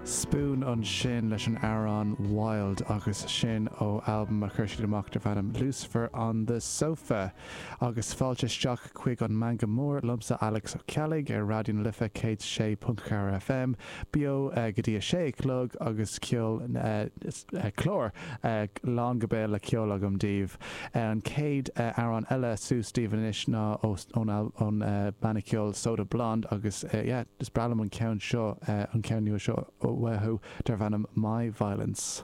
Spoon ansin leis an amhrán Wild agus sin ó albam a chuir siad amach darb ainm Lucifer on the Sofa. Agus fáilte isteach chuig an Meangadh Mór liomsa Alex Ó Ceallaigh ar Raidió na Life 106.4 FM, beo go dtí a sé a chlog agus ceol, clár lán go béal le ceol agam daoibh. An chéad amhrán eile suas daoibh anois ná ón banna ceoil Soda Blonde agus yeah, is breá liom an ceann seo, an ceann nua seo uathu darb ainm My Violence.